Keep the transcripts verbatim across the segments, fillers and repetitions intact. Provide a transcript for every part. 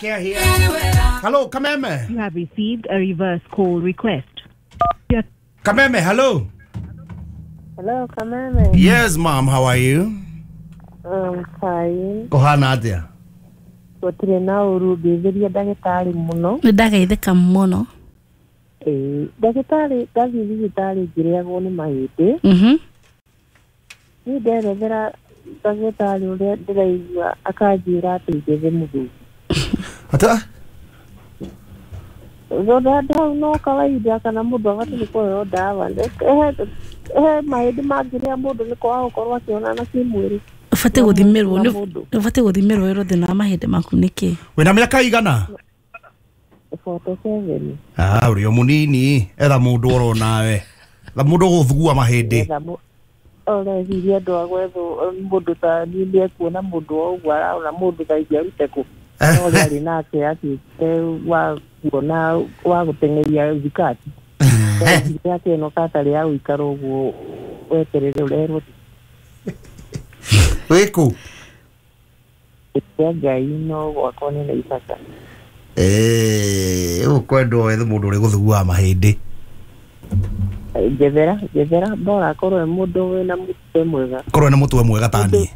care here. Hello, Kameme. You have received a reverse call request. Kameme, hello. Hello, Kameme. Yes, ma'am. How are you? I'm fine. Kohana atia? Gũtirĩ na ũru ngĩthĩria ndagĩtarĩ mũno. Nĩ ndagaithĩka mũno. Ĩĩ, ndagĩtarĩ ndathiĩ thibitarĩ ngĩrĩagwo nĩ mahĩndĩ. Mhm. Niĩ nderethera ndagĩtarĩ ũrĩa ndĩraigua akanjĩra atĩ njethe mũthuri. Ata? Thonda hau no kawaida kana mũndũ abatiĩ nĩ kũheo ndawa. He mahĩndĩ mangĩrĩa mũndũ nĩ kwaga gũkorwo akĩonana kĩmwĩrĩ. Ũbatiĩ gũthimĩrwo nĩ ũbatiĩ gũthimĩrwo wĩrwo thĩna wa mahĩndĩ maku nĩkĩ? Wĩna mĩaka igana? forty-seven. Ah, ũrĩ o mũnini, etha mũndũ oro nawe. Etha mũndũ ũgũthugua mahĩndĩ. Ũreciria andũ a gwethwo mũndũ ta niĩ nĩekuona mũndũ o ũguo arona mũndũ ta ingĩarute kũ. No ũrĩa arĩ nake atuĩkĩte wa kuona wa gũteng'eria thikati. Ndeciria atĩ ĩno katarĩ ya gũikara ũguo weterere ũrerwo. Wĩkũ? Ĩtia Ngai no gwakwa nĩ Naivasha. Eh, ũkwendwo wethe mũndũ ũrĩ gũthuguaga mahĩndĩ. Njethera, njethera bora akorwo e mũndũ wĩna mũtwe mwega. Korwo ena mũtwe mwega ta niĩ.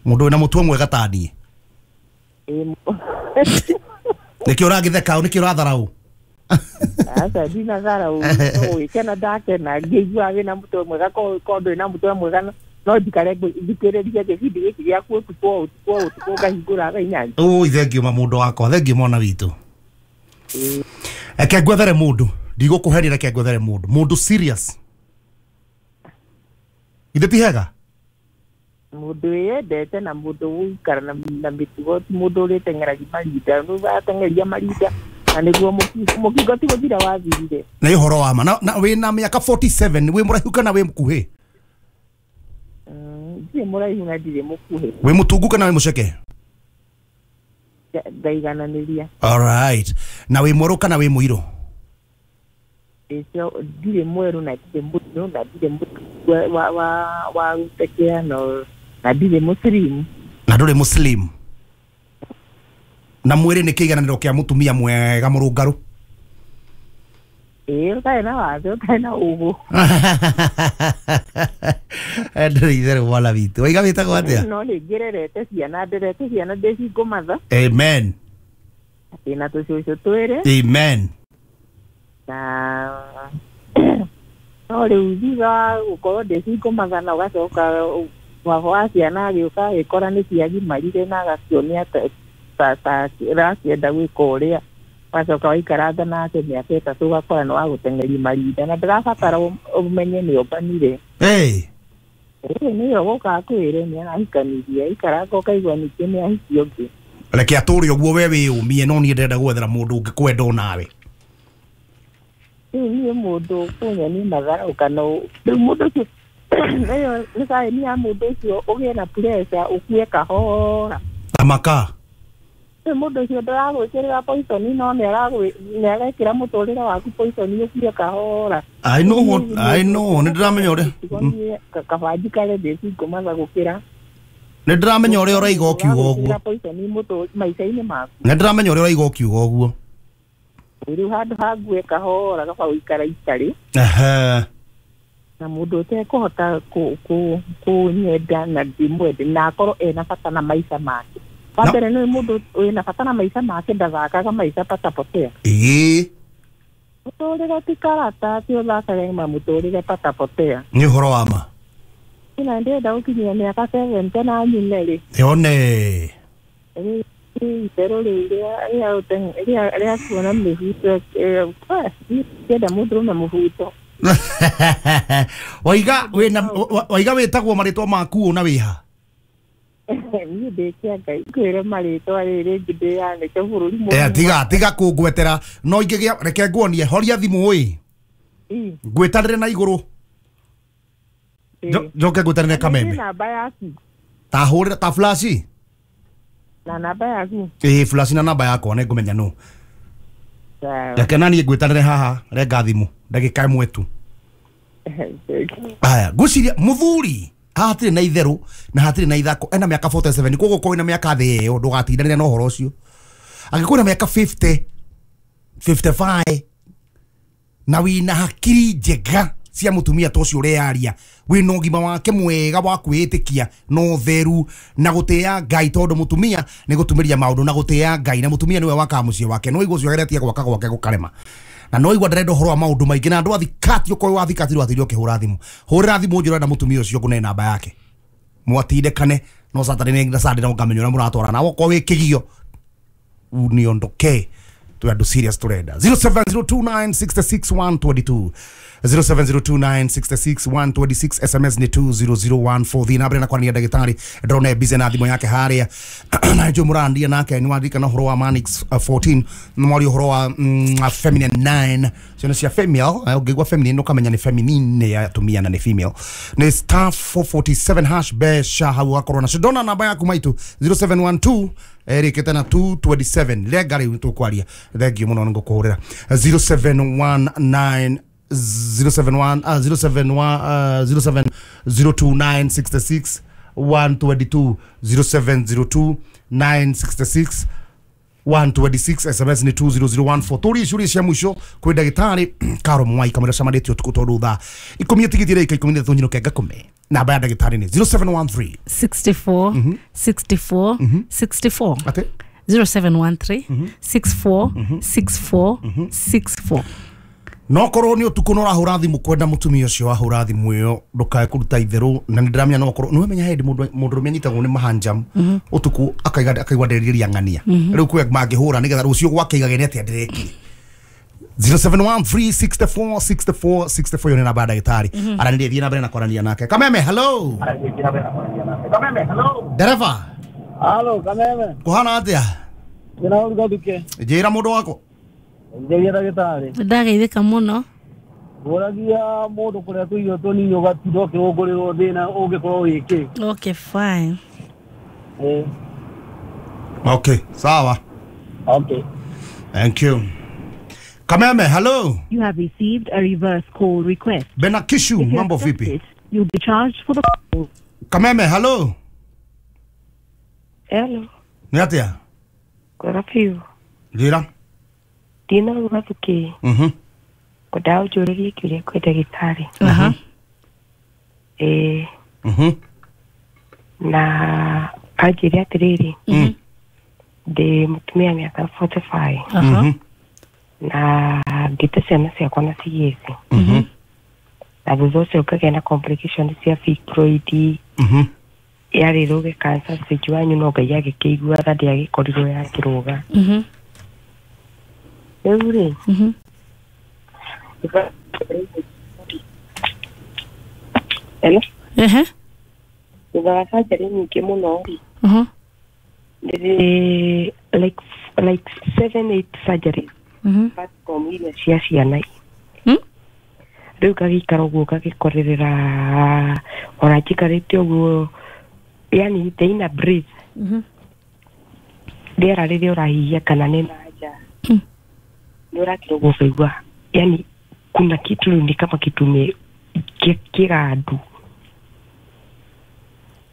Mũndũ wĩna mũtwe mwega ta niĩ. Nĩkĩo ũragĩtheka nĩkĩo ũratharaũ? Aca ndinatharaũ, gwĩkena ndakena ngĩigua wĩna mũtwe mwega korwo ndũrĩ na mũtwe mwega no njikare thikĩrĩrie gĩbindi gĩkĩ gĩaku ũtukũ o ũtukũ o ũtukũ ngahingũra thaa inyanya. Ũi thengiũ ma mũndũ wakwa, thengiũ mwana witũ. Reke ngwethere mũndũ, ndigũkũhenia reke ngwethere mũndũ, mũndũ serious. Githĩ ti hega? Mũndũ wĩyendete na mũndũ ũgũikara na mĩtugo ti mũndũ ũrĩteng'eragia marinda, ateng'eria marinda na nĩguo mũkingo ti gũthira wathirire. Nĩ ũhoro wa ma. Na wĩna mĩaka forty-seven, wĩ mũraihu kana wĩ mũkuhĩ? Ndirĩ mũraihu na ndirĩ mũkuhĩ. Wĩ mũtungu kana wĩ mũceke? Ngaigananĩria. All right. Na wĩ mwerũ kana wĩ mũirũ? Ĩcio ndirĩ mwerũ na ndirĩ mũirũ na ndirĩ wa wa wa gũtekea no na ndirĩ mũslimu. Na ndũrĩ mũslimu. Na mwĩrĩ nĩ kĩigananĩro kĩa mũtumia mwega mũrũngarũ? Ĩĩ, ũtarĩ na wathe, ũtarĩ na ũgũ. Ndũrĩ itherũ mwana witũ. Waiga wĩtagwo atĩa? No nĩ ngĩrerete ciana, nderete ciana ndĩ single mother. Amen. Ndĩna tũcũcũ twĩrĩ. Amen. Na no rĩu thutha wa gũkorwo ndĩ single mother na ũgacoka baba wa ciana agĩũka agĩkora nĩ ciagimarire na agakĩonia ta ta ũrakĩenda gwĩka ũrĩa wacoka waikaranga nake mĩaka ĩtatũ ũgakora nĩ wagũteng'eria marinda na ndĩrabatara ũmenye nĩ ombanire. Ĩĩ. Ĩĩ nĩyo gũka akwĩre nĩ arahikanirie aikaranga ũkaigua ningĩ nĩ ahikia ũngĩ. Reke atũre ũguo we wĩyũmie no niĩ ndĩrenda gwethera mũndũ ũngĩkwenda onawe. Rĩu niĩ mũndũ ũkũnyonia matharau kana rĩu mũndũ ũcio ĩyo nĩ sign ya mũndũ ũcio ũgĩe na pressure ũkue kahora. Ta makaa. Rĩu mũndũ ũcio ndaragwĩkĩrĩra poison no nĩ arekĩra mũtũrĩre waku poison ũkue kahora. I know what I know nĩ ndĩramenya ũrĩa kaba njikare ndĩ single mother gũkĩra. Nĩ ndĩramenya ũrĩa ũraiga ũkiuga ũguo. Poison maica-inĩ maku. Nĩ ndĩramenya ũrĩa ũraiga ũkiuga ũguo. Rĩu handũ ha ngue kahora kaba gũikara itarĩ. Ehe. Na mũndũ ũtekũhota kũnyenda na ndĩmwende na akorwo ena bata na maica make. Wa mbere nĩ mũndũ wĩna bata na maica make ndathakaga maica patapotea. Ĩĩ. Mũtũrĩre ti karata ti ũthakage ma mũtũrĩre patapotea. Nĩ ũhoro wa ma. Na ndĩrenda gũkinyia mĩaka seventy na nyume rĩ. Yone. Itherũ rĩu rĩa rĩa kuona mĩhuto ndĩrenda mũndũrũme mũhuto. Waiga wĩna waiga wĩtagwo marĩtwa maku na wĩha? Niĩ ndĩ Kĩangai ngwĩre marĩtwa rĩrĩ rĩngĩ ndĩyanĩke bũrũri mũgima. Eh, tiga tiga kũngwetera no ingĩgĩa reke nguonie horia thimũ ĩ. Ngwĩtanĩre na igũrũ. Njoke ngwĩtanĩre Kameme. Namba yaku. Ta hũrĩra ta flash. Na namba yaku. Ĩĩ flash na namba yakwa nĩ ngũmenya nũ. Reke na niĩ ngwĩtanĩre haha renga thimũ ndagĩka ĩmwe tu. Aya ngwĩciria mũthuri haha hatirĩ na itherũ na hatirĩ na ithako ena mĩaka forty-seven koguo korwo wĩna mĩaka thĩ ĩyo ndũgatindanĩre na ũhoro ũcio. Angĩkorwo na mĩaka fifty fifty-five na wĩna hakiri njega cia mutumia ta ũcio ũrearia, wĩna ũgima wake mwega wa kwĩĩtĩkia na ũtheru na gũtĩa Ngai, tondũ mutumia nĩ gũtumĩria maũndũ na gũtĩa Ngai, na mutumia nĩwe wakaga mũciĩ wake. No igua ũcio ageretie gwaka gwake gũkarema, na no igua ndarenda ũhoro wa maũndũ maingĩ, na andũ a thikati ũkorwo wa thikati rwathirio ũkĩhũra thimũ, hũrĩra thimũ njũra na mutumia ũcio ngũne namba yake mwatindĩkane no Saturday na Sunday no ngamenya ũrĩa mũratwarana na okorwo wĩ kĩgio uniondoke tu andu serious turenda. Zero seven zero two nine six six one twenty two zero seven zero two nine six six one twenty six S M S ni two zero zero one four. Thina mbere na kwania ndagitari ndrone busy na thimo yake haria na njo murandia nake ni wandika na horo wa Manix fourteen na mwari horo wa mm, feminine nine ciono cia female ungigwa feminine ukamenya ni feminine ya tumia na ni female ni star four forty-seven hash besha hau akorwo na ndona namba yaku maitu zero seven one two erikite na two twenty-seven lenga riu tukwaria thank you muno ngukuhurira zero seven one nine zero seven one uh, zero seven one uh, zero seven zero two nine six six one twenty two zero seven zero two nine six six one twenty six S M S ni two zero zero one four. Turi ciuria cia mwisho kwi ndagitari Karo Mwai kamera camanĩtio ũtukũ tondũ thaa ikũmi ĩtigithire ika ikũmi na ithatũ nyinũke ngakũme. Namba ya ndagĩtarĩ nĩ zero seven one three sixty-four sixty-four sixty-four Ate? zero seven one three six four six four six four. No korwo ni utuku no rahura thimu kwenda mutumia ucio wahura thimu iyo ndukae kuruta itheru na ndiramenya no korwo ni menya hendi mundu mundu rume anyitagwo ni mahanjam utuku akaiga akaigwa nderiria ng'ania riu kwe mangihura nigetha rucio gwake igage ni atia ndireki zero seven one three six four six four six four yo ni namba ya ndagitari aranirie thie na mbere na kwarania nake. Kameme hello. Kameme hello. Dereva. Halo Kameme. Kuhana atia? Ndina uruga duke. Njira mundu wako. Ngeria ndagĩtarĩ. Ndageithĩka mũno. Ngũragia mũndũ kũrĩa tũirio tũnini ũgatinda ũkĩhũngũrĩrwo thĩna ũngĩkorwo wĩ kĩ. Okay fine. Eh. Okay, sawa. Okay. Thank you. Kameme, hello. You have received a reverse call request. Benakishu, mambo vipi? You'll be charged for the call. Kameme, hello. Hello. Ni atia? Kwega biũ. Njĩra. Ndina uga thuki. Mhm. Ngwendaga ũnjũrĩrie kĩũria kwĩ ndagĩtarĩ. Aha. Ĩĩ. Mhm. Na anjĩre atĩrĩrĩ. Mhm. Ndĩ mũtumia mĩaka forty-five. Aha. Na ngĩte ciana ciakwa na cigĩci. Mhm. Na thutha ũcio ngagĩa na complication cia fibroid. Mhm. Yarĩ rũge cancer stage wanyu no Ngai agĩkĩigua tha ndĩagĩkorirwo yakĩrũga. Mhm. Rĩu rĩ. Mhm. Hello? Ehe. Thutha wa surgery nyingĩ mũno rĩ. Mhm. Ndĩrĩ like like seven eight surgeries. Mhm. Apart from iria cia ciana. Mm? Rĩu ngagĩikara ũguo ngagĩkorerera ona njikarĩte ũguo yani the inner breath. Mhm. Rĩera rĩrĩa ũrahihia kana nĩ na nja. Mm. Nĩ ũrakira ũguo ũkaigua yani kuna kitu ni kama kitu me kĩgandu.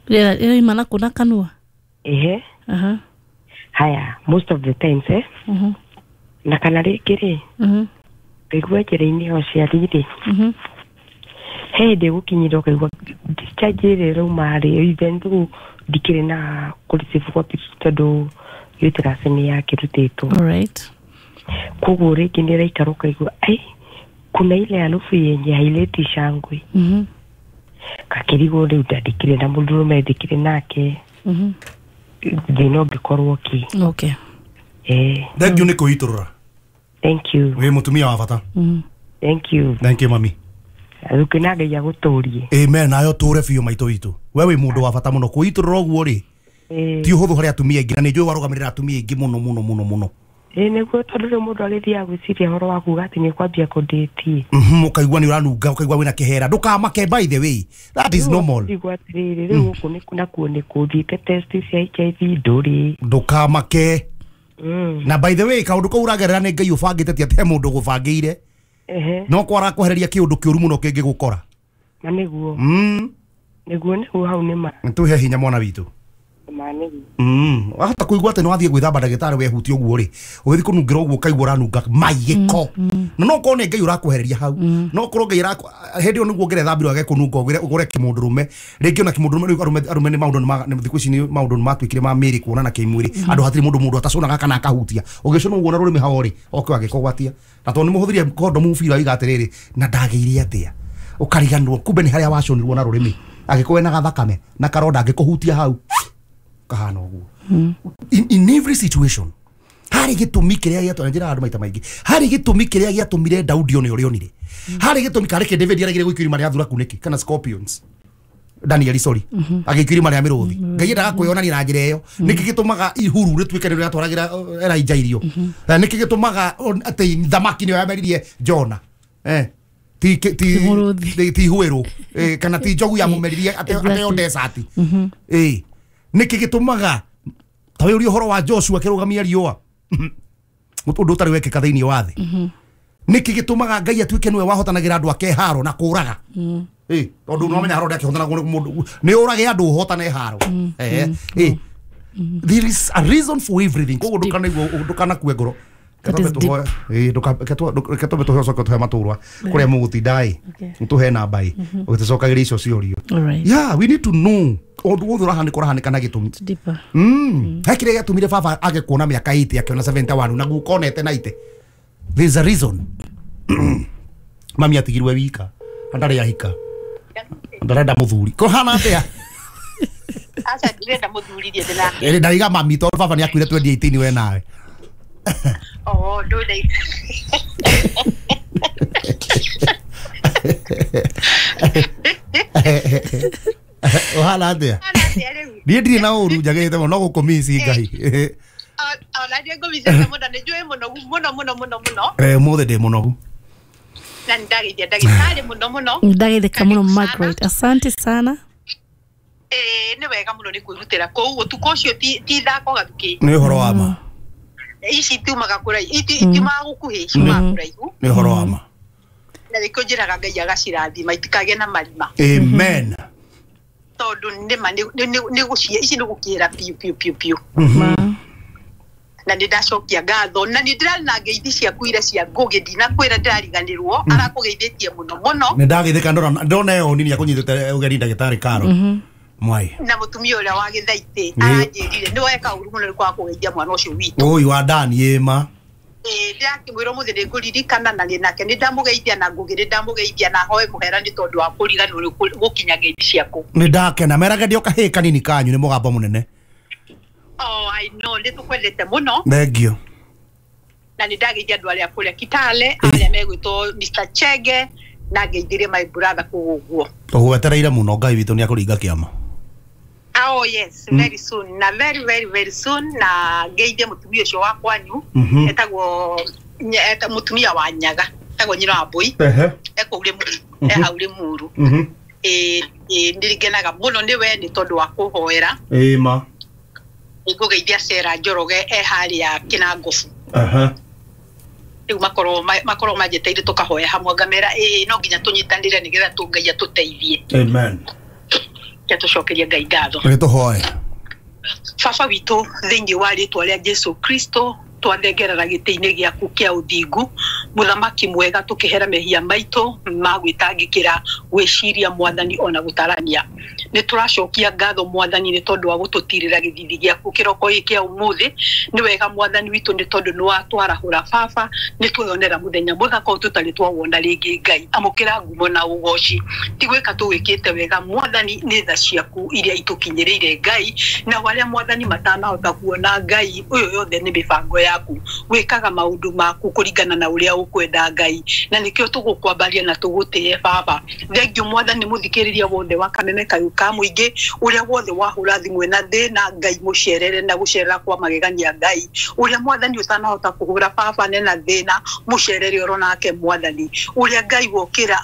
Rĩera rĩrauma na kũ na kanua? Ehe. Aha. Haya, most of the times eh. Mhm. Na kana rĩngĩ rĩ. Mhm. Ngaigua njĩra-inĩ ya ũciari rĩ. Mhm. He hĩndĩ gũkinyire ũkaigua discharge ĩrĩa ĩrauma rĩ even though ndikĩrĩ na kũreceive kwa period tondũ uterus nĩ yakĩrutĩtwo. All right. Koguo rĩngĩ nĩ ĩraikara ũkaigua ai kuna ile harufu yenye haileti shangwe. Mhm. Kakĩrigwo rĩu ndandĩkire na mũndũrũme ndĩkire nake. Mhm. Thĩna ũngĩkorwo kĩ. Okay. Eh. Thank you nĩ kũitũrũra. Thank you. Wĩ mũtumia wa bata. Mhm. Thank you. Thank you mami. Thukĩ na Ngai agũtũrie. Amen nayo tũre biũ maitũ witũ. We wĩ mũndũ wa bata mũno kũitũrũra ũguo rĩ. Ti ũhũthũ harĩ atumia aingĩ na nĩ njũĩ warũgamĩrĩra atumia aingĩ mũno mũno mũno mũno. Ĩĩ nĩguo tondũ rĩu mũndũ agĩthiaga gwĩciria ũhoro wa kuga atĩ nĩ ũkwambia kũndĩti. Mhm, ũkaigua nĩ ũranunga ũkaigua wĩna kĩhera ndũkamake by the way. That is normal. Igua atĩrĩrĩ rĩu gũkũ nĩ nakuo nĩ kũthiĩte test cia H I V ndũrĩ. Ndũkamake. Mm. Na by the way kaũndũ kau ũragerera nĩ Ngai ũbangĩte ti atĩ he mũndũ ũgũbangĩire. Ehe. No kwara kwehereria kĩũndũ kĩũru mũno kĩngĩgũkora. Na nĩguo. Mm. Nĩguo nĩguo hau nĩ ma. Nĩtũhe hinya mwana witũ. Ma nĩguo. Mm wahota kũigua atĩ nĩ wathiĩ gwĩthamba ndagĩtarĩ wehutia ũguo rĩ ũgĩthiĩ kũnungĩra ũguo ũkaigua ũranunga mai gĩko na no ũkorwo nĩ Ngai ũrakwehereria hau no ũkorwo Ngai arakũ hĩndĩ ĩyo nĩguo ũngĩrethambirwo age kũnunga ũgũre ũgũre kĩmũndũrũme rĩngĩ ona kĩmũndũrũme rĩu arũme arũme nĩ maũndũ nĩ thikũ ici nĩ maũndũ nĩ matuĩkire ma mĩĩrĩ kuonana kĩmwĩrĩ andũ hatirĩ mũndũ mũndũ atacunaga kana akahutia ũgĩcũna ũguo na rũrĩmĩ hao rĩ oke agĩkũgwatia na tondũ nĩ mũhũthĩrie kondomu biũ aiga atĩrĩrĩ na ndagĩire atĩa ũkariganĩrwo kumbe nĩ harĩa waconirwo na rũrĩmĩ angĩkorwo ena gathakame na karonda angĩkũhutia hau kahana ũguo. in, in every situation harĩ gĩtũmi kĩrĩa gĩatũmire njĩra andũ maita maingĩ harĩ gĩtũmi kĩrĩa gĩatũmire Daudi one ũrĩa onire harĩ gĩtũmi karĩ kĩ David aregire gũikio irima rĩa thuraku nĩkĩ kana scorpions Daniel sorry agĩikio irima rĩa mĩrũthi Ngai endaga kwĩyonania na njĩra ĩyo nĩkĩ gĩtũmaga ihuru rĩtuĩke nĩ rĩatwaragĩra Elijah irio nĩkĩ gĩtũmaga atĩ thamaki nĩyo yameririe Jona eh ti ti ti huero kana ti njogu yamũmeririe atĩ ateo desert eh nĩkĩ gĩtũmaga ta wĩ ũria ũhoro wa Joshua akĩrũgamia riũa ũndũ ũtarĩ wekĩka thĩinĩ wa thĩ nĩkĩ gĩtũmaga Ngai atuĩke nĩwe wahotanagĩra andũ ake haro na kũraga eh tondũ no menya haro ndakĩhotanagwo nĩ mũndũ nĩ ũrage andũ ũhotane haro eh eh there is a reason for everything koguo ndũkanaigua ndũkanakue ngoro reke twambe tũhe ũcoke tũhe matũrwa kũrĩa mũgũtinda ĩ tũhe namba ĩ ũgĩtũcokagĩria icio ciũrio. Yeah, we need to know ũndũ wothe ũrahanĩka ũrahanĩka na gĩtũmi. Mm he kĩrĩa gĩatũmire baba age kuona mĩaka eighty akĩona seventy-one na guka onete ninety. There's a reason. Mami atigirwe wika ndarĩ ahika ndarenda mũthuri kũhana atĩa? Aca ndirenda mũthuri ndiĩ ndĩna ĩrĩ ndaiga mami tondũ baba nĩ akuire twenty eighteen we nawe. Oh, ndũrĩ ũhana atĩa? Niĩ ndirĩ na ũru njagĩrĩte mũno no gũkũmici Ngai. Ona niĩ ngũmicĩte mũno nĩ njũĩ mũnogu mũno mũno mũno mũno. Eh ũmũthĩ ndĩ mũnogu. Na nĩ ndageithia ndagĩtarĩ mũno mũno. Ndageithĩka mũno Margaret, asante sana. Eh nĩ wega mũno nĩ kwĩrutĩra kũu ũtukũ ũcio ti ithako gathuki. Nĩ ũhoro wa ma. Ici itiumaga kũraihu itiumaga gũkuhĩ ciumaga kũraihu. Nĩ ũhoro wa ma. Na nĩkĩo njĩraga Ngai agacirathima itikagĩe na marima. Amen. Tondũ nĩma nĩ gũcie ici nĩ gũkĩra piũ piũ piũ piũ. Na nĩ ndacokia ngatho na nĩ ndĩrarĩ na ngeithi ciaku iria cia Ngũgĩ ndinakwĩra ndĩrariganĩrwo arakũgeithĩtie mũno mũno. Nĩ ndageithĩka ndona ndona ĩyo nini akũnyitĩte ũgeni ndagĩtarĩ Karo Mwai na mũtumia ũrĩa wa Gĩthaitĩ aranjĩrire nĩ weka ũru mũno nĩ kwaga kũgeithia mwana ũcio witũ. Ũyũ wa Dani ĩma ĩĩ ndĩrakĩmwĩra ũmũthĩ nĩ ngũririkana na nake nĩ ndamũgeithia na Ngũgĩ nĩ ndamũgeithia na hoe mũhera nĩ tondũ wa kũriganĩrwo gũkinya ngeithi ciaku. Nĩ ndakena merage ndio kahĩĩ kanini kanyu nĩ mũgambo mũnene. Oh, I know nĩ tũkwendete mũno. Thank Na nĩ ndageithia andũ arĩa kũrĩa Kitale arĩa megwĩtwo Mister Chege na ngeithirie my brother kũu ũguo. Tũgwetereire mũno Ngai witũ nĩ akũringa kĩama. Oh yes, very soon. Na very very very soon na ngeithie mũtumia ũcio wa kwanyu etagwo mũtumia wa Nyaga etagwo nyina wa Mbũi ekũu Rĩmuru e hau Rĩmuru. Ĩĩ nĩ mũno nĩ we nĩ tondũ wa kũhoera. Ĩĩ ma. Nĩngũgeithia Sarah Njoroge e harĩa Kĩnangobu. Aha. Rĩu makorwo makorwo manjĩtĩire tũkahoya hamwe ngamera ĩĩ no nginya tũnyitanĩre nĩgetha Ngai atũteithie. Amen. Tũcokerie Ngai ngatho. Nĩ tũhoe. Baba witũ thĩinĩ wa rĩtwa rĩa Jesu Kristo twathengerera gĩtĩ-inĩ gĩaku kĩa ũthingu mũthamaki mwega tũkĩhera mehia maitũ ma gwĩtangĩkĩra gwĩciria mwathani ona gũtarania nĩ tũracokia ngatho mwathani nĩ tondũ wa gũtũtirĩra gĩthithi gĩaku kĩroko gĩkĩ kĩa ũmũthĩ nĩ wega mwathani witũ nĩ tondũ nĩ watwarahũra baba nĩ tweyonera mũthenya mũthaka tũtarĩ twawona rĩngĩ Ngai amũkĩra ngumo na ũgoci ti gwĩka tũgwĩkĩte wega mwathani nĩ tha ciaku iria itũkinyĩrĩire Ngai na arĩa mwathani matanahota kuona Ngai ũyũ yothe nĩ mĩbango yaku wĩkaga maũndũ maku kũringana na ũrĩa ũkwenda Ngai na nĩkĩo tũgũkwambaria na tũgũtĩe baba thengiũ mwathani mũthikĩrĩria wothe wa Kameme Kayũ ka mũingĩ ũrĩa wothe wahũra thimũ ena thĩna Ngai mũcerere na gũcerera kwa magegania Ngai ũrĩa mwathani ũtanahota kũhũra baba nena thĩna mũcerere oro nake mwathani ũrĩa Ngai wokĩra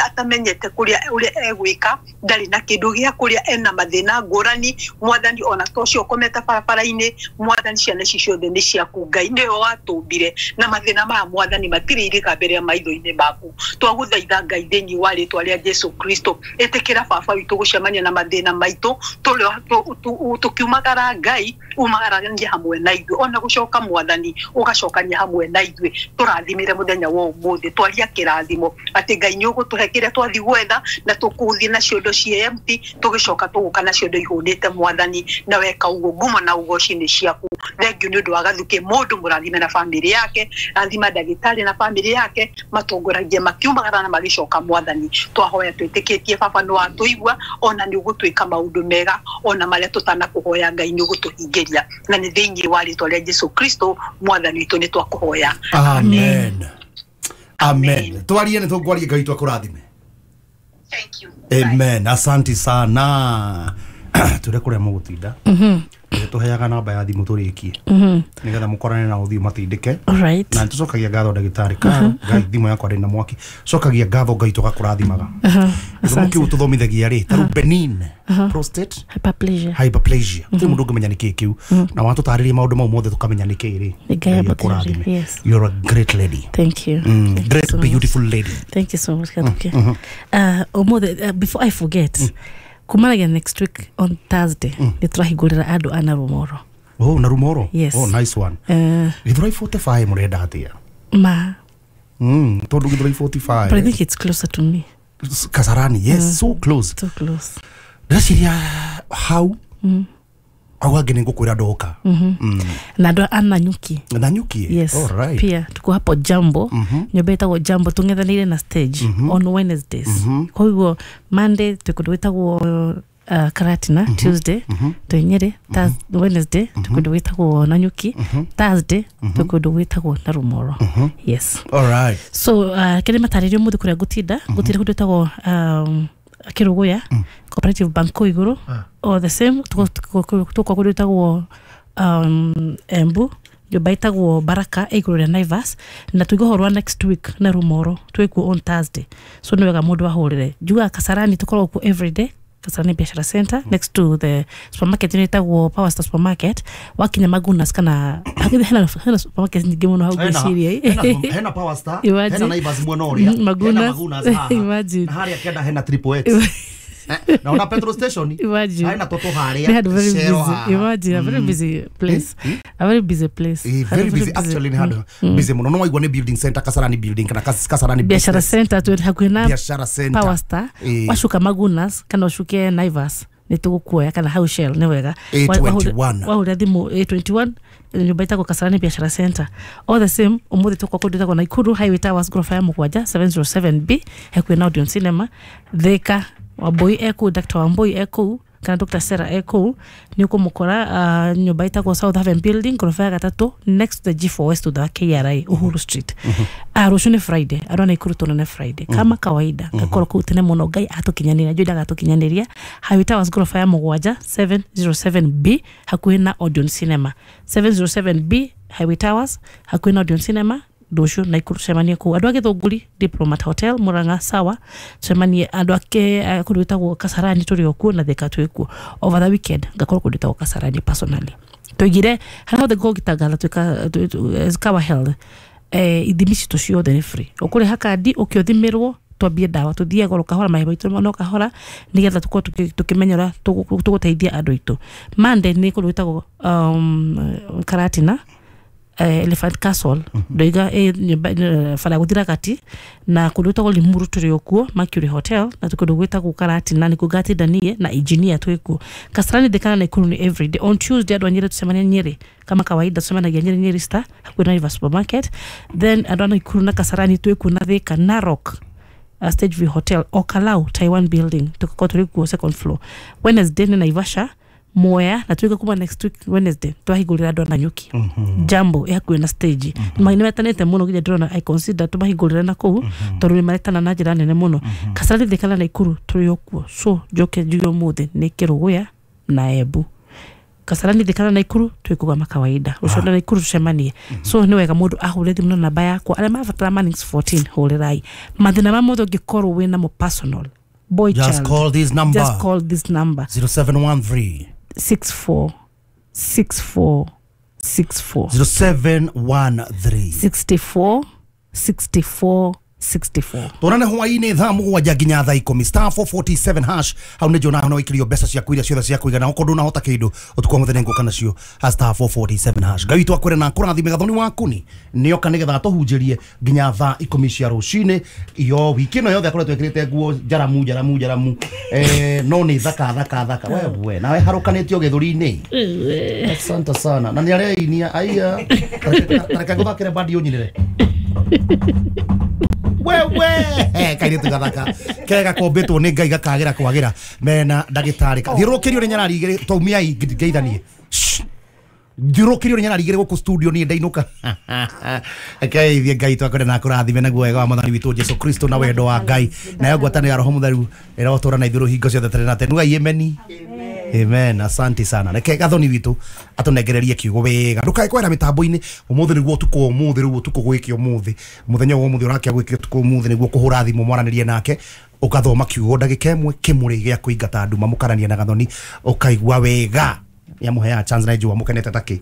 atamenyete kũrĩa ũrĩa egwĩka ndarĩ na kĩndũ gĩa kũrĩa ena mathĩna ngũrani mwathani ona to ũcio ũkomete barabara-inĩ mwathani ciana ici ciothe nĩ ciaku Ngai nĩwe watũmbire na mathĩna maya mwathani matirĩ Gũtirĩ irĩga mbere ya maitho-inĩ maku. Twagũthaitha Ngai thĩinĩ wa rĩtwa rĩa Jesu Kristo, ĩtĩkĩra baba witũ gũcemania na mathĩna maitũ, tũkiumagara Ngai umagarania hamwe na ithuĩ, ona gũcoka Mwathani ũgacokania hamwe na ithuĩ. Tũrathimĩre mũthenya wa ũmũthĩ, twaria kĩrathimo atĩ Ngai nĩ ũgũtũhe kĩrĩa twathiĩ gwetha, na tũkũthiĩ na ciondo ciĩ empty, tũgĩcoka tũgũka na ciondo ihũnĩte Mwathani, na weka ũguo ngumo na ũgoci nĩ ciaku. Thank you nĩ ũndũ wa Gathukĩ mũndũ mũrathime na famĩlĩ yake, rathima ndagĩtarĩ na famĩlĩ yake, matongoragie makiumagara na magĩcoka Mwathani. Twahoya twĩtĩkĩtie baba nĩ watũigua, ona nĩ ũgũtwĩka maũndũ mega, ona marĩa tũtanakũhoya Ngai nĩ ũgũtũhingĩria, na nĩ thĩinĩ wa rĩtwa rĩa Jesu Kristo Mwathani witũ nĩ twakũhoya. Amen. Amen. Twarie nĩ tũkwaria Ngai twakũrathime. Thank you. Amen. Asante sana. Tũrĩa kũrĩa mũgũtinda. Mhm. Tũheaga namba ya thimũ tũrĩkie. Mhm. Nĩgetha mũkorane na ũthiũ matindĩke. Alright. Na nĩtũcokagia ngatho ndagĩtarĩ Karo. Ngai thimũ yakwa ndĩ na mwaki. Cokagia ngatho Ngai tũgakũrathimaga. Gĩthomo kĩu tũthomithagia rĩ, ta rĩu benign prostate hyperplasia. Hyperplasia. Gũtirĩ mũndũ ũngĩmenya nĩkĩĩ kĩu. Na watũtarĩria maũndũ mau mothe tũkamenya nĩkĩĩ rĩ. Ngai akũrathime. Yes. You're a great lady. Thank you. Mm, Thank great you so beautiful much. Lady. Thank you so much, Kathuke. Mm, mm. Uh, ũmũthĩ, uh, before I forget, mm. kumanagia next week on Thursday, mm. nĩ tũrahingũrĩra andũ a Narumoro. Oh, Narumoro? Yes. Oh, nice one. Uh, Githurai forty-five mũrenda atĩa? Ma. Mm, tondũ Githurai forty-five. But I think it's closer to me. Kasarani, yes, mm. so close. So close. Ndĩreciria hau. Mm. Au angĩ nĩ ngũkwĩra ndoka. Mm-hmm. Mm. Na andũ a Nanyuki. Nanyuki? Yes. All right. Pia tuko hapo Jambo. Mm-hmm. Nyũmba ĩtagwo Jambo tũng'ethanĩire na stage mm-hmm. on Wednesdays. Mm-hmm. Koguo Monday twĩ kũndũ gwĩtagwo uh, Karatina, mm-hmm. Tuesday mm-hmm. twĩ Nyĩrĩ, mm-hmm. Wednesday mm-hmm. twĩ kũndũ gwĩtagwo Nanyuki, mm-hmm. Thursday mm-hmm. twĩ kũndũ gwĩtagwo Narumoro. Mm-hmm. Yes. All right. So uh, kĩrĩa matarĩrio mũthĩ kũrĩa ngũtinda, ngũtinda kũndũ gwĩtagwo um, Kĩrũgũya, mm. Cooperative Bank kũu igũrũ, ah. or the same tũkwa kũndũ gwĩtagwo um, Embu, nyũmba ĩtagwo Baraka ĩ igũrũ rĩa Naivas, na tuiga ũhoro wa next week Narumoro twĩkuo on Thursday. So nĩ wega mũndũ ahũrĩre. Njugaga Kasarani tũkoragwo kuo every day, Kasarani Biashara Center, mm. next to the supermarket ĩno ĩtagwo Power Star Supermarket. Wakinya Magunas kana hena hena supermarket nyingĩ mũno hau ngwĩciria. Hena Power Star, hena Naivas mwena ũrĩa, Magunas, hena Magunas haha. Imagine. Na harĩa kĩanda hena Triple X. Na ona petrol station. Imagine. Haina toto harĩa. They had very busy. Imagine, a very busy place. A very busy place. Eh, very busy actually ni handũ busy mũno. No waigua nĩ building center, Kasarani building kana Kasarani Biashara Center twĩ hakuhĩ na Biashara Center. Power Star. Wacuka Magunas kana ũcuke Naivas nĩ tũgũkuoya kana hau Shell nĩ wega. A twenty-one. Wahũrĩra thimũ A twenty-one nyũmba ĩtagwo Kasarani Biashara Center. All the same ũmũthĩ tũkwa kũndũ ĩtagwo Nakuru Highway Towers ghorofa ya mũgwanja seven zero seven B hakuhĩ na Odeon Cinema. Thika Wambui eku, Doctor Wambui eku kana Doctor Sarah eku nĩ ũkũmũkora uh, nyũmba ĩtagwo South Haven Building ghorofa ya gatatũ next to the G four West to the K R I Uhuru Street. Mm-hmm. Uh, rũciũ nĩ Friday, andũ a Nakuru tuonane Friday kama kawaida. Ngakorwo kũu tene mũno Ngai atũkinyanĩria, njũĩ ndagatũkinyanĩria. Highway Towers ghorofa ya mũgwanja seven zero seven B hakuhĩ na Odeon Cinema. seven zero seven B Highway Towers hakuhĩ na Odeon Cinema. Rũciũ Nakuru tucemanie kũu. Andũ a Gĩthũngũri Diplomat Hotel Murang'a sawa, tucemanie andũ ake kũndũ gwĩtagwo Kasarani tũrĩ o kuo na Thika twĩ kuo. Over the weekend ngakorwo kũndũ gwĩtagwo Kasarani personally. Tũigire harĩa hothe ngũkorwo ngĩtangatha twĩka Kawa Health, eh, ithimi citũ ciothe nĩ free. Ũkũrĩha kandi ũkĩũthimĩrwo twambie ndawa tũthiage goro kahora mahe maitũ no kahora nĩgetha tũkorwo tũkĩmenya ũrĩa tũgũteithia andũ aitũ. Monday nĩ kũndũ gwĩtagwo um, Karatina, Uh, Elephant Castle ndoiga eh, bara gũthira kati na kũndũ gwĩtagwo Limuru tũrĩ o kuo Mercury Hotel na kũndũ gwĩtagwo Karatina nĩkuo ngatinda niĩ na engineer twĩ kuo. Kasarani Thika na Nakuru nĩ everyday. On Tuesday andũ a Nyĩrĩ tũcemania Nyĩrĩ kama kawaida, tũcemanagia Nyĩrĩ Nyĩrĩ Star hakuhĩ na River Supermarket. Then andũ a Nakuru na Kasarani twĩ kuo na Thika Narok uh, Stage View Hotel Okalau Taiwan Building tũgakorwo tũrĩ kuo second floor. Wednesday nĩ Naivasha Moya na tuika kuma next week Wednesday twahingũrĩra andũ a Nanyuki. Mm-hmm. Jambo ĩ hakuhĩ na stage. Mm-hmm. Nĩ metanĩte mũno nginya ndĩrona I consider tũmahingũrĩre na kũu mm-hmm. tondũ nĩ maretana na njĩra nene mũno. Mm-hmm. Kasarani Thika na Nakuru tũrĩ o kuo. So njoke njuge ũmũthĩ nĩ Kĩrũgũya na Embu. Kasarani Thika na Nakuru twĩ kũgama kawaida. Rũciũ na Nakuru tũcemanie. So nĩ wega mũndũ ahũre thimũ na namba yakwa. Arĩa marabatara Mannings fourteen hũrĩrai. Mathĩna ma mũndũ ũngĩkorwo wĩ namo personal. Boy Just child. Call this number. Just call this number. zero seven one three six four six four six four. zero seven one three sixty-four sixty-four sixty-four. Tuonane hwainĩ thaa mũgwanja nginya thaa ikũmi, star four forty-seven hash. Hau nĩ njona no ikirio mbeca ciaku iria ciothe cia kũigana, okorwo ndũnahota kĩndũ ũtukũ wa mũthenya ngũka nacio ha star four forty-seven hash. Ngai witũ akwĩre na akũrathime. Gathoni waku ni nĩoka nĩgetha atũhunjĩrie nginya thaa ikũmi cia rũcinĩ. Iyo wiki ĩno yothe akoretwo ekĩrĩte nguo njaramu njaramu njaramu, eh, no nĩ thaka thaka thaka. We we nawe harũkanĩtio gĩthũri-inĩ. Asante sana. Na nĩ areinia aiya, tareke ngũthakĩre bandi ũnyinĩre wewe kairĩtu gathaka kega kombĩtwo nĩ Ngai gakagĩra kwagĩra mena ndagĩtarĩ. Thiũrũrũkĩrio nĩ nyarari igĩrĩ taumiai ngeithanie. Thiũrũrũkĩrio nĩ nyarari igĩrĩ gũkũ studio niĩ ndainũka. Keithie Ngai twakwenda na akũrathime naguo wega wa Mwathani witũ Jesu Kristo na wendo wa Ngai nayo ngwatanĩro ya Roho Mũtheru ĩrotũra na ithuĩ hingo ciothe tene na tene. Nugai ameni. Amen. Asante sana. Reke gathoni witũ atũnengererie kiugo wega. Ndũkae kwera mĩtambo-inĩ ũmũthĩ nĩguo ũtukũ ũmũthĩ rĩu ũtukũ gwĩke ũmũthĩ mũthenya wa ũmũthĩ ũrakia gwĩke ũtukũ ũmũthĩ nĩguo kũhũra thimũ mwaranĩrie nake ũgathoma kiugo ndagĩka ĩmwe kĩmũrĩ gĩa kũingata nduma mũkaranie na gathoni ũkaigua wega. Nĩamũheaga chance na njũa mũkenete takĩ.